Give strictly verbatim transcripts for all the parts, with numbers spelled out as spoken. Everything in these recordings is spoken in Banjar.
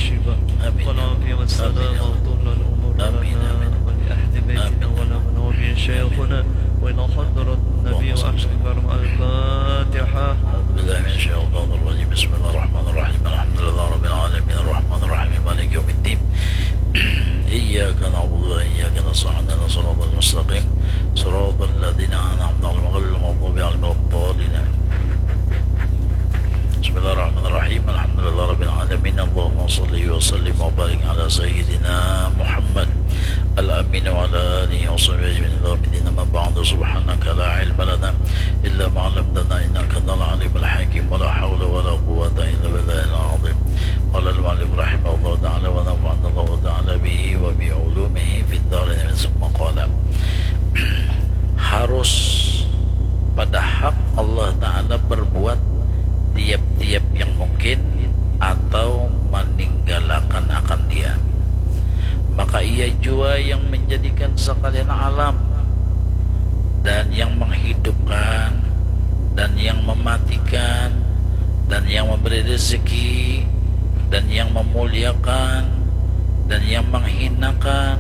والشفاء والعافية والسلامة وطول العمر لنا ولأهل بيتنا ولمن هو بهم شيخنا وإلى حضرة النبي وأهل الكرم. الفاتحة. أعوذ بالله من الشيطان الرجيم. بسم الله الرحمن الرحيم. الحمد لله رب العالمين. الرحمن الرحيم. مالك يوم الدين. إياك نعبد وإياك نستعين. اهدنا الصراط المستقيم. صراط الذين أنعمت عليهم غير المغضوب عليهم ولا الضالين. بسم الله الرحمن الرحيم. الحمد لله رب العالمين. اللهم صل وسلم وبارك على سيدنا محمد الأمين وعلى آله وصحبه أجمعين إلى يوم الدين. أما بعد، سبحانك لا علم لنا إلا ما علمتنا إنك أنت العليم الحكيم. ولا حول ولا قوة إلا بالله العظيم. قال المؤلف رحمه الله تعالى ونفعنا الله تعالى به وبعلومه في الدارين. ثم قال, harus pada hak Allah Ta'ala berbuat tiap-tiap yang mungkin atau meninggalkan akan dia. Maka ia jua yang menjadikan sekalian alam, dan yang menghidupkan, dan yang mematikan, dan yang memberi rezeki, dan yang memuliakan, dan yang menghinakan,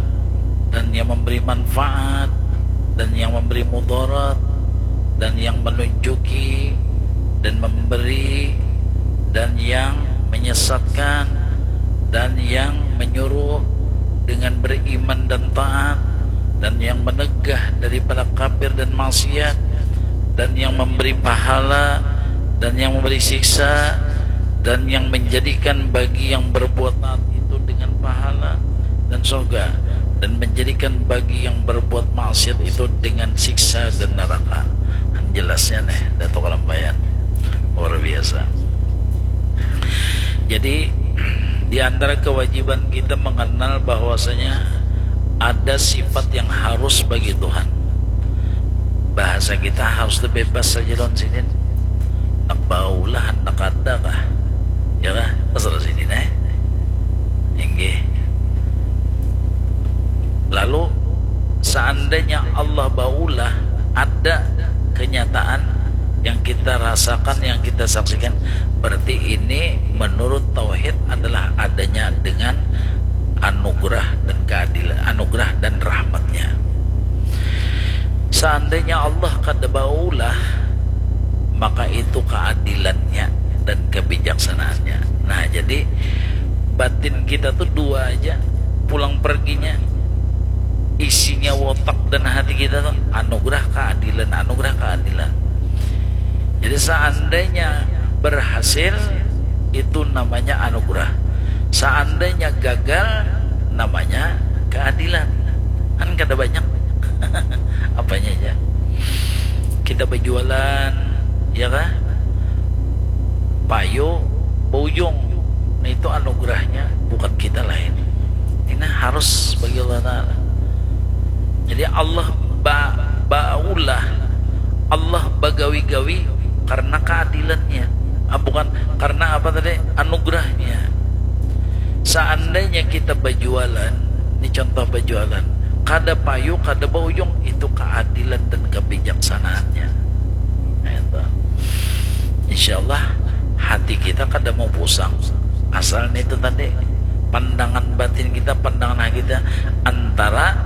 dan yang memberi manfaat, dan yang memberi mudarat, dan yang menunjuki, dan memberi, dan yang menyesatkan, dan yang menyuruh dengan beriman dan taat, dan yang menegah daripada kafir dan maksiat, dan yang memberi pahala, dan yang memberi siksa, dan yang menjadikan bagi yang berbuat taat itu dengan pahala dan surga, dan menjadikan bagi yang berbuat maksiat itu dengan siksa dan neraka. Jelasnya nih, Datuk Kalampayan. Luar biasa. Jadi, di antara kewajiban kita mengenal bahwasanya ada sifat yang harus bagi Tuhan. Bahasa kita harus tu bebas saja lawan sidin. Handak baulah, handak kada kah? Ya kah? Terserah sidin, eh. Inggih. Lalu, seandainya Allah baulah, ada kenyataan yang kita rasakan, yang kita saksikan, berarti ini menurut tauhid adalah adanya dengan anugerah dan keadilan, anugerah dan rahmatnya. Seandainya Allah kada baulah, maka itu keadilannya dan kebijaksanaannya. Nah, jadi batin kita tuh dua aja, pulang perginya, isinya otak dan hati kita tuh anugerah keadilan, anugerah keadilan. Jadi seandainya berhasil, itu namanya anugerah. Seandainya gagal, namanya keadilan. Kan kada banyak apanya aja. Kita berjualan, ya kah? Payu baujung. Nah, itu anugerahnya, bukan kita lain. Ini harus bagi Allah Ta'ala. Jadi Allah ba, baulah, Allah bagawi-gawi karena keadilannya. Ah, bukan karena apa tadi? Anugerahnya. Seandainya kita berjualan, ini contoh berjualan, kada payu, kada baujung, itu keadilan dan kebijaksanaannya. Nah, itu. Insya Allah hati kita kada mau pusang. Asal nih itu tadi, pandangan batin kita, pandangan hati kita antara,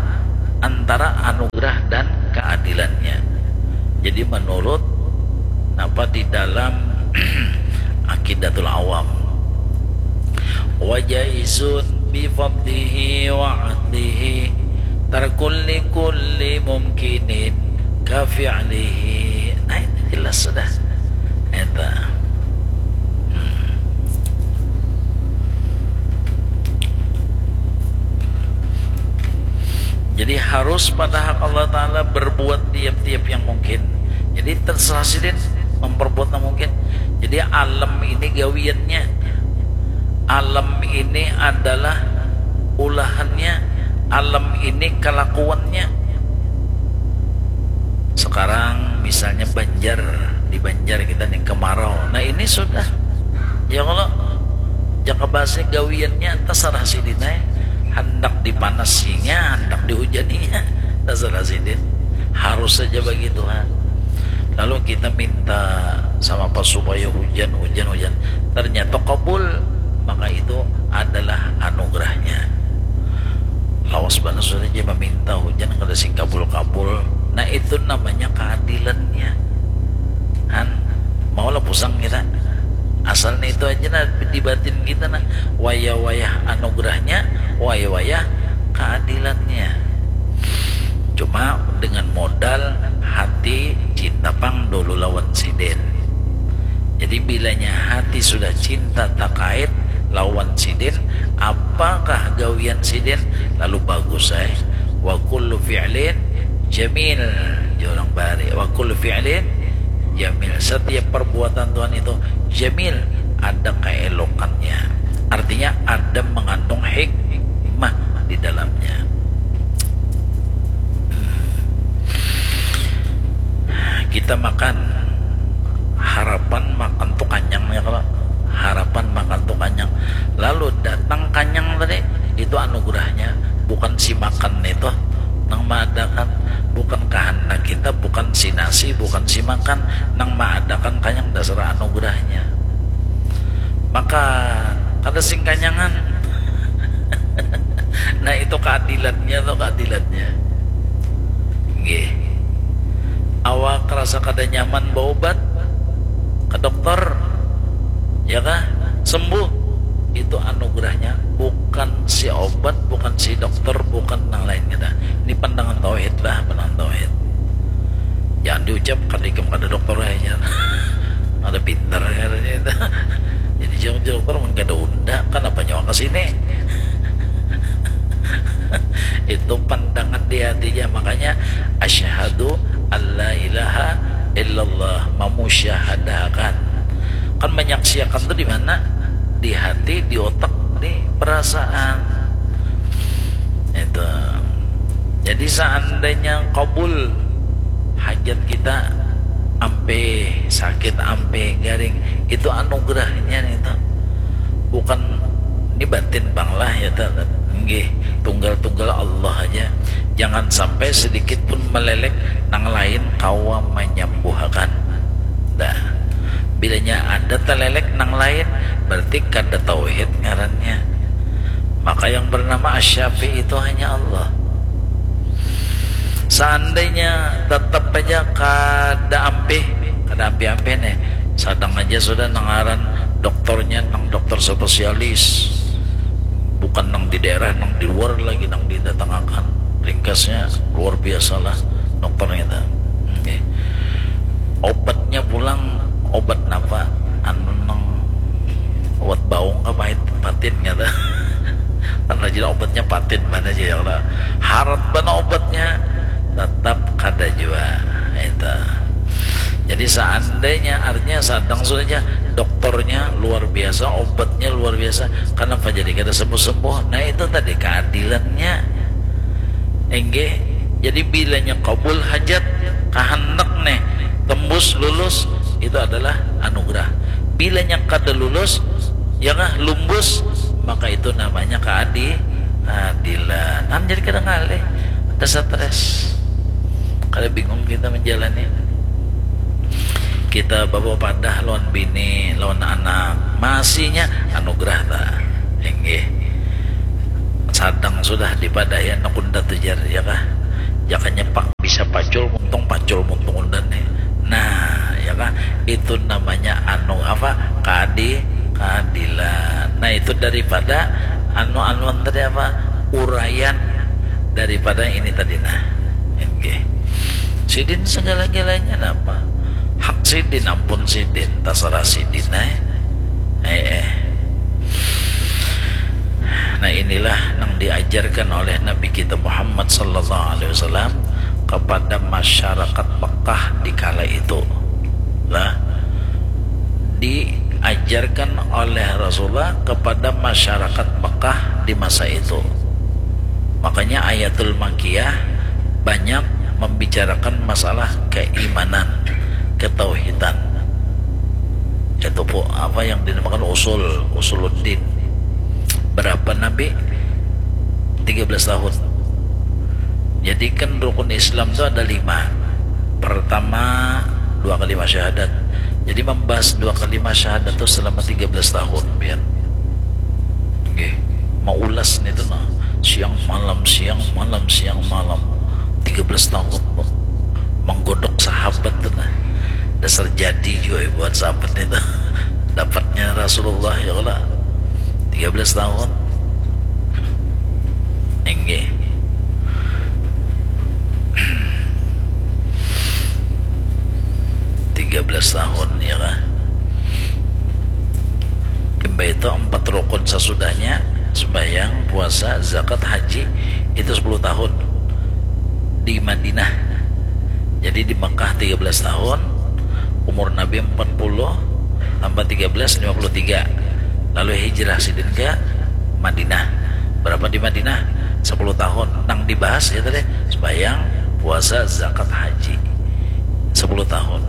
antara anugerah dan keadilannya. Jadi menurut apa di dalam Aqidatul Awam, wa jaizun bi fadlihi wa adlihi tarkul li kulli mumkinin ka fi'lihi. Nah, itu jelas sudah. Eta. Hmm. Jadi harus pada hak Allah Ta'ala berbuat tiap-tiap yang mungkin. Jadi terserah sidin memperbuat yang mungkin. Jadi alam ini gawiannya, alam ini adalah ulahannya, alam ini kelakuannya. Sekarang misalnya Banjar, di Banjar kita nih kemarau. Nah, ini sudah. Ya kalau jaka bahasa gawiannya terserah sidin ai. Handak dipanasinya, handak dihujaninya, terserah sidin. Harus saja bagi Tuhan. Lalu kita minta sama apa supaya hujan, hujan, hujan. Ternyata kabul. maka itu adalah anugerahnya. Lawas banar sudah ja maminta hujan kada sing kabul-kabul. Nah, itu namanya keadilannya. Han, maulah pusang kita. Asalnya itu aja nah di batin kita nah. Wayah-wayah anugerahnya, wayah-wayah keadilannya. Cuma dengan modal hati cinta pang dulu lawan sidin. Jadi bilanya hati sudah cinta takait lawan sidin, apakah gawian sidin lalu bagus ai. Wa kullu fi'lin jamil, jar urang Bahari. Wa kullu fi'lin jamil. Setiap perbuatan Tuhan itu jamil, ada keelokannya. Artinya ada mengandung hikmah di dalamnya. Kita makan, harapan makan tu kanyang ya, kalau harapan makan tu kanyang, lalu datang kanyang tadi, itu anugerahnya. Bukan si makan itu nang maadakan, bukan kehendak kita, bukan si nasi, bukan si makan nang maadakan kanyang, dasar anugerahnya. Maka kada sing kanyangan. Nah, itu keadilannya tuh, keadilannya. Nggih. Awak rasa kada nyaman baubat ke dokter, ya kah? Sembuh. Itu anugerahnya, bukan si obat, bukan si dokter, bukan nang lain kita. Ini pandangan tauhid lah, pandangan tauhid. Jangan diucap kada ikam kada dokter aja. Ada pintar ya itu. Jadi jangan dokter mun kada unda, kenapa nyawa ke sini? Itu pandangan di hatinya, makanya asyhadu alla ilaha illallah, mamusyahadahakan. Kan menyaksiakan tuh di mana? Di hati, di otak, di perasaan. Itu. Jadi seandainya kabul hajat kita, ampih sakit, ampih garing, itu anugerahnya nih tuh. Bukan ini batin pang lah ya ta. Nggih, tunggal-tunggal Allah aja. Jangan sampai sedikit pun melelek nang lain kawa menyembuhakan. Dah. Bilanya ada telelek nang lain, berarti kada tauhid ngarannya. Maka yang bernama Asy-Syafi itu hanya Allah. Seandainya tetap aja kada ampih, kada ampih-ampih nih, sadang aja sudah nang ngaran dokternya nang dokter spesialis, bukan nang di daerah, nang di luar lagi nang didatangakan. Ringkasnya luar biasa lah dokternya tuh. Oke. Obatnya pulang, obat napa? Anu nang obat baung kah, pahit, patin kata. Kan rajin obatnya patin mana aja ya lah. Harat bana obatnya, tetap kada jua itu. Jadi seandainya, artinya sadang sudah aja dokternya luar biasa, obatnya luar biasa, kenapa jadi kada sembuh-sembuh? Nah, itu tadi keadilannya. Inggih. Jadi bilanya kabul hajat, kahandak nih, tembus, lulus, itu adalah anugerah. Bilanya kada lulus, ya kah, lumbus, maka itu namanya keadi-, keadilan. Nah, jadi kada ngalih, kada stres, kada bingung kita menjalani. Kita bawa padah lawan bini, lawan anak, masihnya anugerah ta. Inggih. Sadang sudah dipadahi anak unda tu jar, ya kah? Jakanya pak bisa pacul muntung, pacul muntung unda nih. Nah, ya kah? Itu namanya anu apa? Keadi-, keadilan. Nah, itu daripada anu-anuan tadi apa? Uraian daripada ini tadi nah. Oke. Sidin segala-galanya napa? Hak sidin, ampun sidin, terserah sidin eh. Eh, eh. Nah, inilah yang diajarkan oleh Nabi kita Muhammad sallallahu alaihi wasallam kepada masyarakat Mekah di kala itu. Lah, diajarkan oleh Rasulullah kepada masyarakat Mekah di masa itu. Makanya Ayatul Makkiyah banyak membicarakan masalah keimanan, ketauhidan. Itu apa yang dinamakan usul, usuluddin. Berapa Nabi? Tiga belas tahun. Jadi kan rukun Islam itu ada lima. Pertama, dua kalimat syahadat. Jadi membahas dua kalimat syahadat itu selama tiga belas tahun, biar. Maulas nih tuh nah, siang malam, siang malam, siang malam, tiga belas tahun tuh menggodok sahabat tuh nah. Dasar jadi juga buat sahabat itu. Dapatnya Rasulullah ya Allah, tiga belas tahun. Enggak, tiga belas tahun ya lah. Kimba itu empat rukun sasudahnya, sembahyang, puasa, zakat, haji, itu sepuluh tahun di Madinah. Jadi di Mekah tiga belas tahun, umur Nabi empat puluh, tambah tiga belas, lima puluh tiga. Lalu hijrah sidin ke Madinah. Berapa di Madinah? Sepuluh tahun. Nang dibahas ya tadi, sembahyang, puasa, zakat, haji. Sepuluh tahun.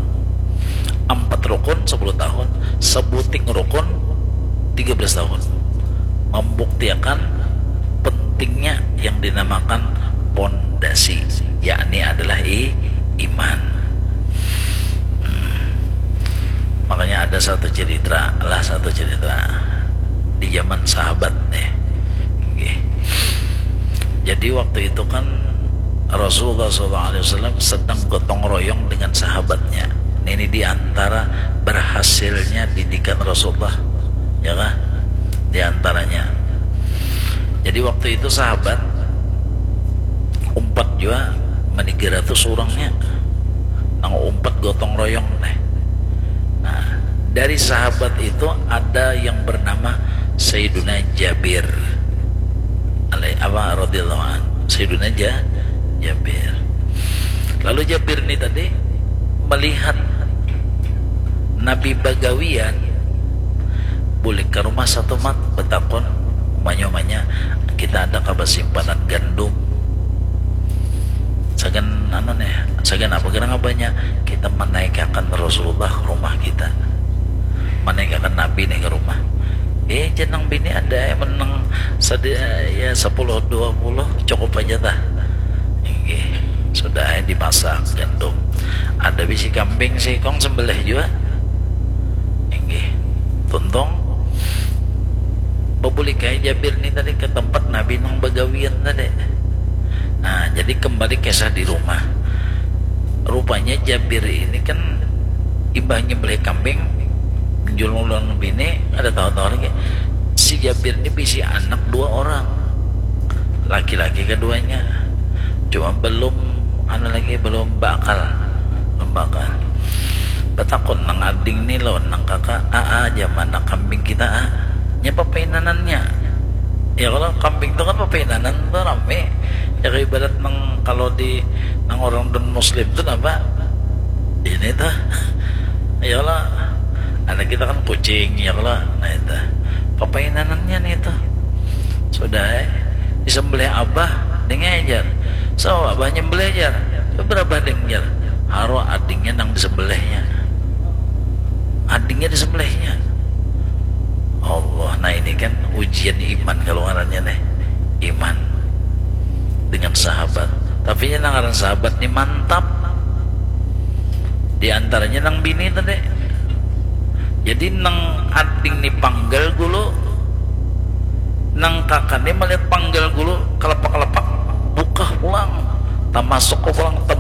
Empat rukun sepuluh tahun, sebuting rukun tiga belas tahun. Membuktiakan pentingnya yang dinamakan pondasi, yakni adalah i, iman. Hmm. Makanya ada satu cerita lah, satu cerita di zaman sahabat nih. Nggih. Jadi waktu itu kan Rasulullah sallallahu alaihi wasallam sedang gotong royong dengan sahabatnya. Ini di antara berhasilnya didikan Rasulullah, ya kah? Di antaranya. Jadi waktu itu sahabat umpat jua manigara tu surangnya. Nang umpat gotong royong nih. Nah, dari sahabat itu ada yang bernama Sayyiduna Jabir. Alai-, apa, radhiyallahu anhu. Sayyiduna Ja-, Jabir. Lalu Jabir ni tadi melihat Nabi bagawian, bulik ke rumah satu mat, betakun, umanya-umanya, kita ada kabar simpanan gandum. Sagan anu nih, sagan apa kira ngabanya? Kita menaikakan Rasulullah ke rumah kita. Menaikakan Nabi nih ke rumah. Eh, jenang bini ada yang menang sadi-, ya, sepuluh dua puluh, cukup aja tah. Inggih, sudah, eh, dimasak gandum. Ada bisi kambing sikong sembelih jua. Inggih. Tuntung bebulik aja Jabir ni tadi ke tempat Nabi nang bagawian tadi. Nah, jadi kembali kisah di rumah. Rupanya Jabir ini kan imbah nyembelih kambing, menjulung-ulung bini, ada tahu-tahu lagi. Si Jabir ini bisi anak dua orang. Laki-laki keduanya. Cuma belum, anu lagi, belum bakal. Belum bakal. Betakun nang ading ni lawan nang kakak, "A, a, aja mana kambing kita, a?" Nya papainanannya. Ya kalau kambing tu kan papainanan tu rame. Ya kayak ibarat nang kalau di nang orang dan muslim tu apa? Ini tuh. Ya kalau anak kita kan kucing, ya kalau, nah itu. Papainanannya nih itu. Sudah, eh. Disembelih abah, dengar aja. So, abah nyembelih aja. Berapa dengar? Haro adingnya nang disembelihnya. Adingnya disembelihnya. Allah, nah ini kan ujian iman kalau ngarannya nih. Iman dengan sahabat. Tapi ini nang ngaran sahabat nih mantap. Di antaranya nang bini tadi. Jadi nang ading ni panggal gulu, nang kakak ni melihat panggal gulu, kelepak-kelepak, bukah pulang. Tamasuk ke pulang, teb